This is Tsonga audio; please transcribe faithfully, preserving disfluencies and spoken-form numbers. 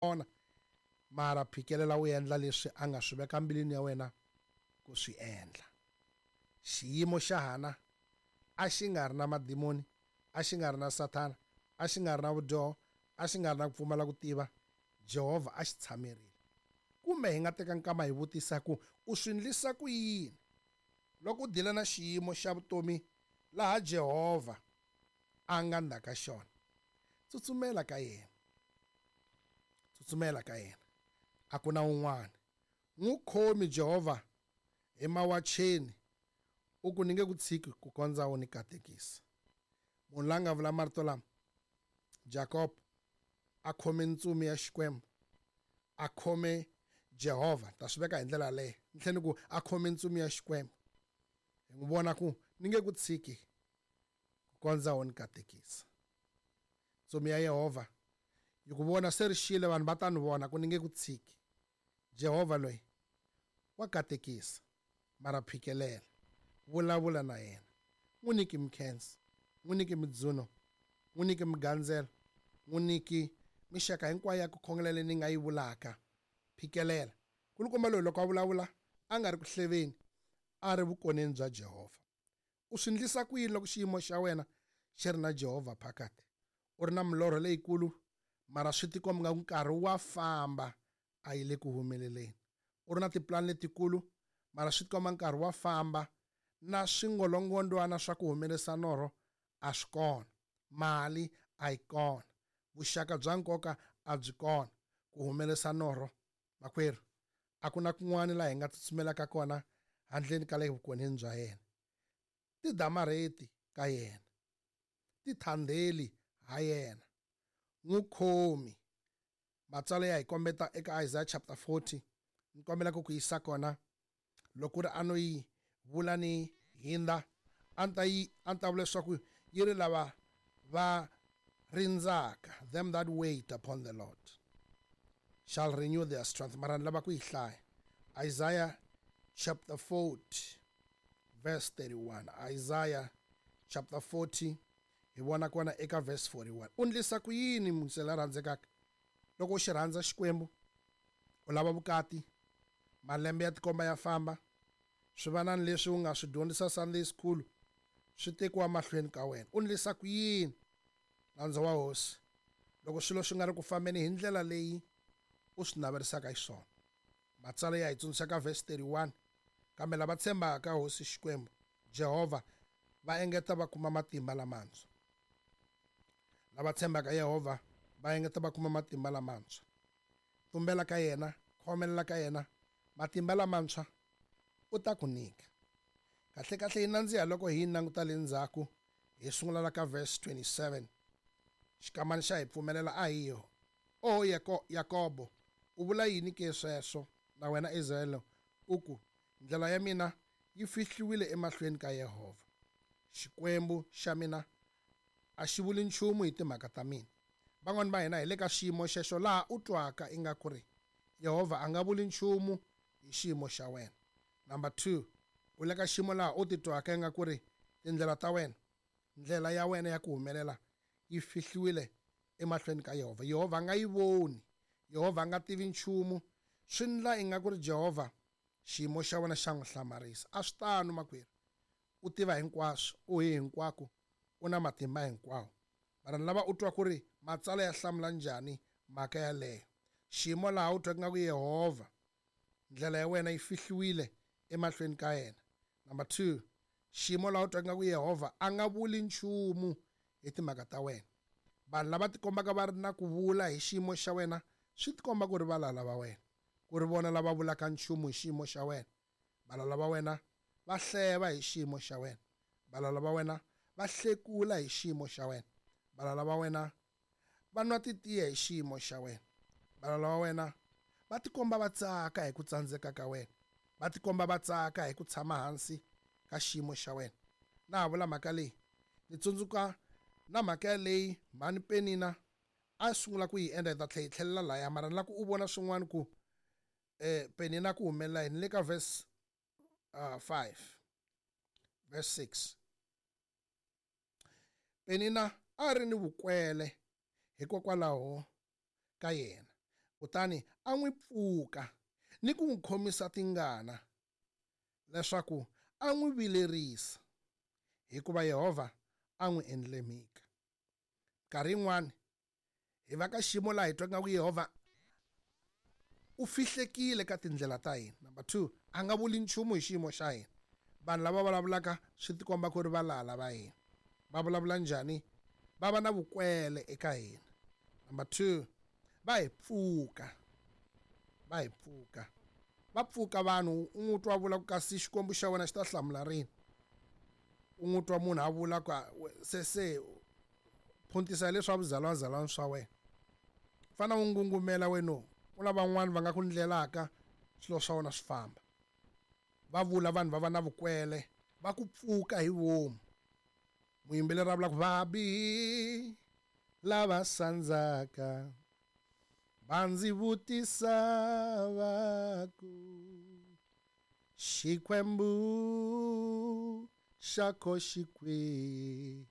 Kona mara phikelela u endla leswi a nga swi veka mbilwini ya wena ku swi endla. Xiyimo xa Hana a xi nga ri na madimoni, a xi nga ri na Sathana, a xi nga ri na vudyoho, a xi nga ri na ku pfumala ku tiva. Jehovha a xi tshamerile. Kumbe hi nga teka nkama hi vutisa ku u swi ndlisa ku yini loko u dila na xiyimo xa vutomi laha Jehovha a nga ndzhaka xona. Tsutsumela ka yena, tsutsumela ka yena, a ku na un'wana. N'wi khomi Jehovha hi mawacheni, u ku ni nge ku tshiki ku kondza u ni katekisa. Munhu la nga vula marito lama, Jacob, a khome ntsumi ya Xikwembu, a khome Jehovha, ta swi veka hi ndlela leyo, ni tlhela ni ku a khome ntsumi ya Xikwembu. Hi n'wi vona ku ni nge ku tshiki ku kondza u ni katekisa. Ntsumi ya Yehovha yi ku vona se ri xile, vanhu va ta ni vona ku ni nge ku tshiki. Jehovha loyi wa katekisa, mara phikelela, vulavula na yena, n'wi nyiki mikhensa, n'wi nyiki midzuno, n'wi nyiki migandzelo, n'wi nyiki mixaka hinkwayo ya ku khongela leyi ni nga yi vulaka. Phikelela. Kulukumba loyi loko a vulavula a nga ri ku hleveni, a ri vukoneni bya Jehovha. U swi ndlisa ku yini loko xiyimo xa wena xi ri na Jehovha phakati? U ri na milorho leyikulu, mara swi tikomba nga nkarhi wa famba a yi le ku humeleleni. U ri na tipulani letikulu, mara swi tikomba nkarhi wa famba na swingolongondwana swa ku humelerisa norho a swi kona. Mali a yi kona, vuxaka bya nkoka a byi kona ku humelerisa norho. Makwerhu, a ku na kun'wana laha hi nga tsutsumelaka kona handleni ka le vukoneni bya yena. Ti damarheti ka yena, ti thandeli ha yena, n'wi khomi. Matsalwa ya hi kombeta eka Isaiah chapter forty, ni kombela ku ku yisa kona. Loko ri a no yi vula ni hindza, a ni ta yi, a ni ta vula leswaku yi ri lava va rindzaka, them that wait upon the Lord shall renew their strength. Mara ni lava ku yi hlaya. Isaiah chapter forty verse thirty-one. Isaiah chapter forty, hi vona kona eka verse forty-one. U ndlisa ku yini munhu la rhandzekaka? Loko u xi rhandza Xikwembu, u lava vukati, malembe ya tikomba ya famba, swivanani leswi u nga swi dyondzisa Sunday school swi tekiwa mahlweni ka wena. U ndlisa ku yini, nandza wa Hosi, loko swilo swi nga ri ku fambeni hi ndlela leyi u swi naverisaka xiswona? Matsalwa ya hi tsundzuxa ka verse thirty-one, kambe lava tshembaka Hosi Xikwembu Jehovha va engeta va kuma matimba lamantshwa. Lava tshembaka Yehovha va engeta va kuma matimba lamantshwa. Tumbela ka yena, khomelela ka yena, matimba lamantshwa u ta ku nyika. Kahle kahle yi nandziha loko hi yi languta le ndzhaku, hi sungula la ka verse twenty-seven. Xikamani xa hi pfumelela a hi yo. O Yako-, Yakobo, u vula yini ke sweswo na wena Israyele, u ku ndlela ya mina yi fihliwile emahlweni ka Yehovha. Xikwembu xa mina a xi vuli nchumu hi timhaka ta mina. Van'wani va hina hi le ka xiyimo xexo laha u twaka ingaku ri Yehovha a nga vuli nchumu hi xiyimo xa wena. Number two, u le ka xiyimo laha u titwaka ingaku ri tindlela ta wena, ndlela ya wena ya ku humelela yi fihliwile emahlweni ka Yehovha. Yehovha a nga yi voni, Yehovha a nga tivi nchumu. Swi ndla ingaku ri Jehovha xiyimo xa wena xa n'wi hlamarisa. A swi tano makwerhu, u tiva hinkwaswo, u hi hinkwako, u na matimba hinkwawo. Mara ni lava u twa ku ri matsalwa ya hlamula njhani mhaka yaleyo. Xiyimo laha u twaka ingaku Yehovha ndlela ya wena yi fihliwile emahlweni ka yena. Number two, xiyimo laha u twaka ingaku Yehovha a nga vuli nchumu hi timhaka ta wena. Vanhu lava tikombaka va ri na ku vula hi xiyimo xa wena swi tikomba ku ri valala va wena, ku ri vona lava vulaka nchumu hi xiyimo xa wena. Valala va wena va hleva hi xiyimo xa wena, valala va wena va hlekula hi xiyimo xa wena, valala va wena va nwa titiya hi xiyimo xa wena, valala va wena va tikomba va tsaka hi ku tsandzeka ka wena, va tikomba va tsaka hi ku tshama hansi ka xiyimo xa wena. Na ha vula mhaka leyi, ni tsundzuka na mhaka leyi mhani Penina a sungula ku yi endla, hi ta tlhela hi tlhelela laya, mara ni lava ku u vona swin'wana ku, eh, Penina ku humelela yini. Le ka verse, uh, five, verse six. Penina a ri ni vukwele hikokwalaho ka yena, Kutani a n'wi pfuka ni ku n'wi khomisa tingana, leswaku a n'wi vilerisa, hikuva Yehovha a n'wi endlile mhika. Nkarhi yin'wani hi va ka xiyimo laha hi twaka nga ku Yehovha u fihlekile ka tindlela ta hina. Number two, a nga vuli nchumu hi xiyimo xa hina. Vanhu lava vulavulaka swi tikomba ku ri valala va hina. Va vulavula njhani? Va va na vukwele eka hina. Number two, va hi pfuka. Va hi pfuka. Va pfuka vanhu, u n'wi twa vula ku kasi Xikwembu xa wena xi ta hlamula rini. U n'wi twa munhu a vula ku se se phuntisa leswa vuzalwazalwana swa wena. Fana u ngungumela wena, ku na van'wani va nga ku ndlelaka swilo swa wena swi famba. Va vula vanhu va va na vukwele, va ku pfuka hi vomu. Muyimbeleri a vula ku vabihi lava sandzaka va ndzi vutisa va ku Xikwembu xa ko xi kwihi.